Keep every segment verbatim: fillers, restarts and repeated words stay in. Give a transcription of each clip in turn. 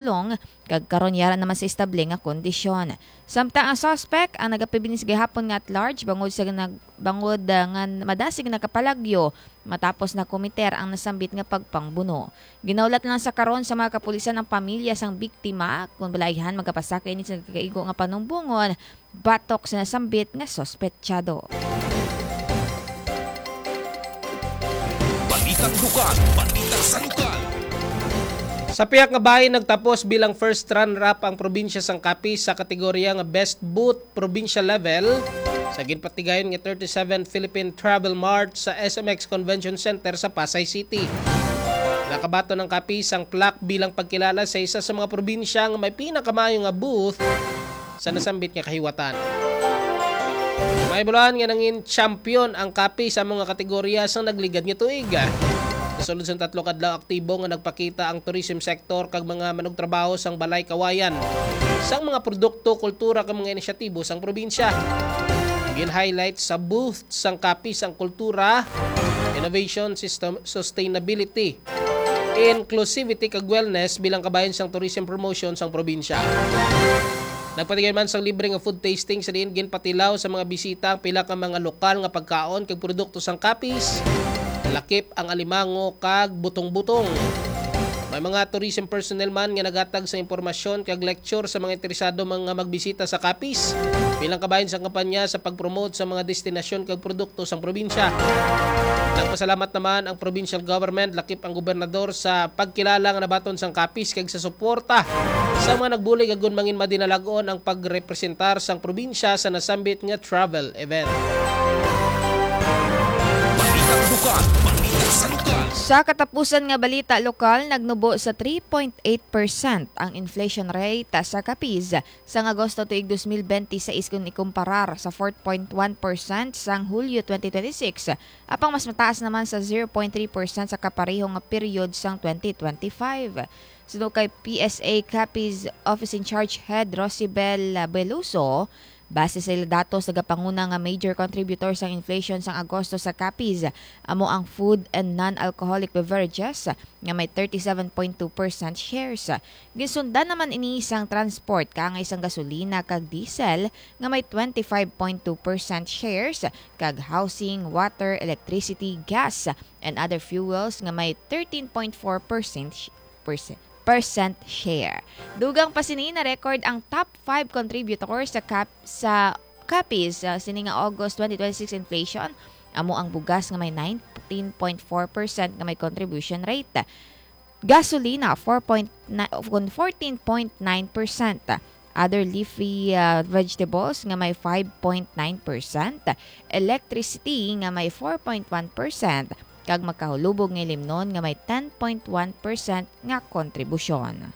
pulong, kag karon yara naman sa estable nga kondisyon. Samtang ang suspect ang nagapabinis gihapon nga at large bangod sa nag-, bangod, ah, nga madasig nakapalagyo matapos na komiter ang nasambit nga pagpangbuno. Ginaulat lang sa karon sa mga kapulisan ang pamilya sang biktima. Kung balay-an, magapasaka ini sa nagakaigo nga panumbongon batok sa nasambit nga suspetsado. Balitang lokal, balita sa lokal. Sa pihak nga bahin, nagtapos bilang first runner-up ang probinsya sang Capiz sa kategorya nga Best Booth Provincial Level sa ginpatigayon nga thirty-seven Philippine Travel Mart sa S M X Convention Center sa Pasay City. Nakabaton ang Capiz sang plaque bilang pagkilala sa isa sa mga probinsya nga may pinakamaayo nga booth sa nasambit nga kahiwatan. May bulan nga nangin champion ang Capiz sa mga kategorya sa nagligad nga tuig. Nasulod sang tatlo ka adlaw, aktibo nga nagpakita ang tourism sector kag mga manugtrabaho sang Balay Kawayan sang mga produkto, kultura kag mga inisyatibo sang probinsya. Gin-highlight sa booth sang Capiz ang kultura, innovation, system, sustainability, inclusivity kag wellness bilang kabahin sang tourism promotion sang probinsya. Nagpatigay man sang libre nga food tasting sa diin ginpatilaw sa mga bisita ang pila ka mga lokal nga pagkaon kag produkto sang Capiz, lakip ang alimango kag butong-butong. May mga tourism personnel man nga naghatag sa impormasyon kag lecture sa mga interesado mga magbisita sa Capiz bilang kabahin sang kampanya sa pag-promote sa mga destinasyon kag produkto sang probinsya. Nagpasalamat naman ang provincial government, lakip ang gobernador, sa pagkilala nga nabaton sang Capiz kag sa suporta sa mga nagbulig agud mangin madinalag-on ang pagrepresentar sang probinsya sa nasambit nga travel event. Balitang lokal, balita sa lokal. Sa katapusan nga balita lokal, nagnubo sa three point eight percent ang inflation rate sa Capiz sang Agosto tuig dos mil benti sais kon ikumparar sa four point one percent sang Hulyo twenty twenty-six, apang mas mataas naman sa zero point three percent sa kapareho nga period sang twenty twenty-five. Suno kay P S A Capiz Office in Charge Head Rosibel Beluso, base sa ila datos, nagapanguna nga major contributor sang inflation sang Agosto sa Capiz amo ang food and non-alcoholic beverages nga may thirty-seven point two percent shares. Ginsundan naman ini sang transport, kaangay sang gasolina kag diesel nga may twenty-five point two percent shares, kag housing, water, electricity, gas, and other fuels nga may thirteen point four percent sh-, percent, percent share. Dugang pa sini, na-record ang top five contributors sa Cap-, sa Capiz, ah, sini nga August twenty twenty-six inflation. Amo ang bugas nga may nineteen point four percent nga may contribution rate. Gasolina, four point nine, kun fourteen point nine percent. Other leafy, ah, vegetables nga may five point nine percent. Electricity nga may four point one percent. Kag magkahulubog nga limnon nga may ten point one percent nga kontribusyon.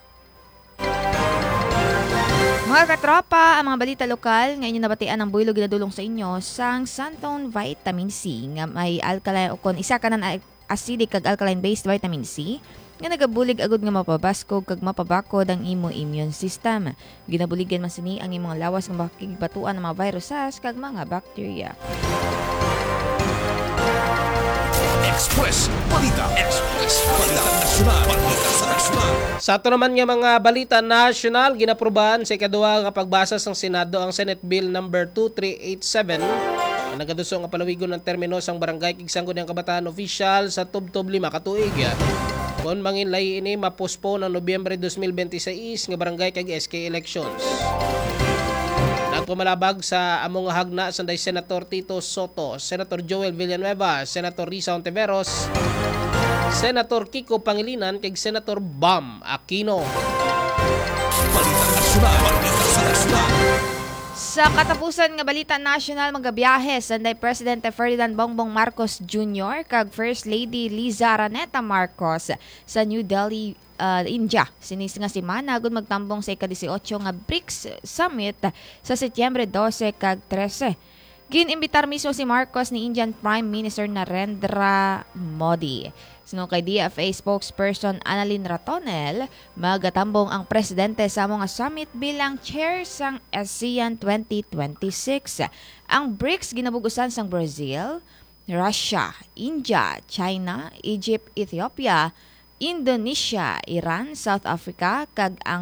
Mga katropa, ang mga balita lokal nga inyo nabatian ang buhilo ginadulong sa inyo sang Santone Vitamin C nga may alkaline o kon isa ka nan acidic kag alkaline-based vitamin C nga nagabulig agud nga mapabaskog kag mapabakod ang imo immune system. Ginabuligan man sini ang imong lawas nga makigbatuan ang mga viruses kag mga bacteria. Express Balita. Express Balita Nasyonal. Balita sa Nasyonal. Sa ato naman nga mga balita nasyonal, ginaprubahan sa ikaduha nga pagbasa sang Senado ang Senate Bill number two three eight seven, nga nagaduso nga palawigon ang termino sang barangay kag sangguniang kabataan opisyal sa tubtob lima ka tuig. Kon manginlahi ini, ma-postpone ang Nobyembre dos mil benti sais nga barangay kag S K elections. Nagpamalabag sa amo nga hagna sanday Senator Tito Soto, Senator Joel Villanueva, Senator Risa Ontiveros, Senator Kiko Pangilinan, kag Senator Bam Aquino. Balita Nasyonal. Balita sa Nasyonal. Sa katapusan nga balita nasyonal, magabiyahe sanday Presidente Ferdinand Bongbong Marcos Junior kag First Lady Liza Araneta Marcos sa New Delhi, ah, India. Sini nga semana, agud magtambong sa ika-dieciocho nga brics Summit sa Setyembre dose kag trese. Gin-imbitar mismo si Marcos ni Indian Prime Minister Narendra Modi. Suno kay D F A spokesperson Annalyn Ratonel, magatambong ang presidente sa amo nga summit bilang chair sang ASEAN twenty twenty-six. Ang brics ginabug-usan sang Brazil, Russia, India, China, Egypt, Ethiopia, Indonesia, Iran, South Africa, kag ang